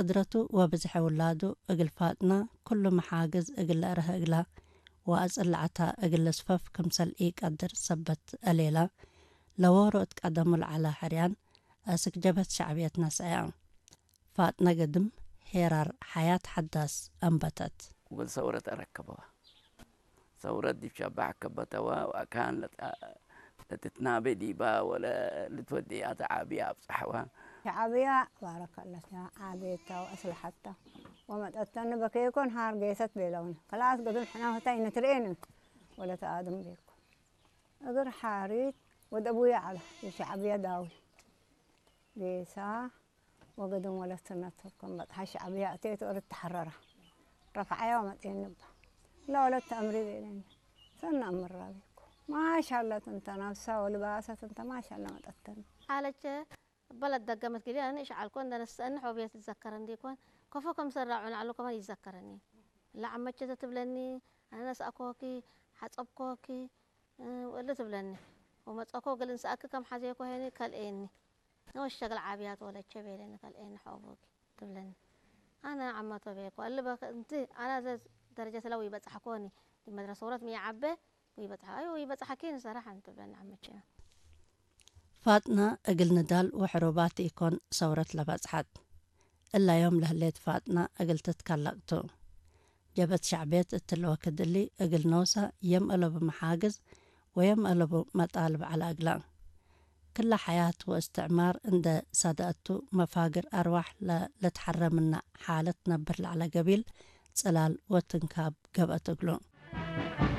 ቅድረቱ ወብዝሐ ውላዱ እግል ፋጥና ኩሉ መሓግዝ እግል ለእረህ እግላ ወአጽላዕታ እግል ልስፈፍ ክምሰል ኢቀድር ሰበት እሌላ ለዎሮ እት ቀደሙ ለዐላ ሕርያን አስክ ጀበት ሸዕብየት ነስዐያ። ፋጥነ ግድም ሄራር ሐያት ሐዳስ አንበተት። ወልሰውረት አረከበዋ። ሰውረት ዲብ ሸባሕ ከበተዋ ወአካን ለትትናቤ ዲባ ወለ ልትወድያ ተዓብያ አብጽሐዋ። ሸዓብያ ባረከለት ዓቤታ ወአስልሐታ ወመጠተኒ በኬኮን ሃር ጌሰት ቤለውን ከላስ ገዱን ሕናፈታ ይነትርኤን ወለ ተአድም ቤኮ እግር ሓሪት ወደ አቡያ ዓላ የሸዓብያ ዳዊ ጌሳ ወገድም ወለት ሰነት ከም በጽሓ ሸዓብያ እቴት ወለት ተሐረራ ረፍዓያ ወመጤን ንባ ለወለት ተአምሪ ቤለኒ ሰነ አምራ ቤኮ ማሻላ ትንተ ናፍሳ ወልባሰ ትንተ ማሻላ መጠተኒ አለች። በለት ደገመት ጊዜ እኔ ሻዓልኮ እንደነሰእን ሖብየት ይዘከረን ዲኮን ከፎ ከም ሰራዑን አሉ ከማን ይዘከረኒ ለዓመቸተ ትብለኒ አነነስአኮኪ ሓጸብኮኪ ወእሊ ትብለኒ ወመጸኮ ገል እንስኣኪ ከም ሓዜኮ ሄኒ ከልኤኒ ንወሸ ገል ዓብያት ወለቸ ቤለኒ ከልኤኒ ሖቦኪ ትብለኒ አነ ዓመቶ ቤኮ እሊ በክ እንቲ አና ዘ ደረጀት ለው ይበጻሕኮኒ ዲመድረስ ወረት ሚዓበ ይበጻሕ አዩ ይበጻሕኪ ንሰራሕ ትብለኒ ዓመቸ። ፋጥና እግል ንዳል ወሕሩባት ኢኮን ሰውረት ለበጽሐት። እላ ዮም ለህሌት ፋጥና እግል ትትከለቅ ቱ። ጀበት ሸዕብየት እትለ ወክድ እሊ እግል ኖሳ የም እለቡ መሓግዝ ወየም እለቡ መጣልብ ዐለ እግላ። ክለ ሐያት ወእስትዕማር እንደ ሳደአቱ መፋግር አርዋሕ ለልትሐረ ምነ ሓለት ነብር ለዐለ ገቢል ጽላል ወትንካብ ገብአት እግሉ።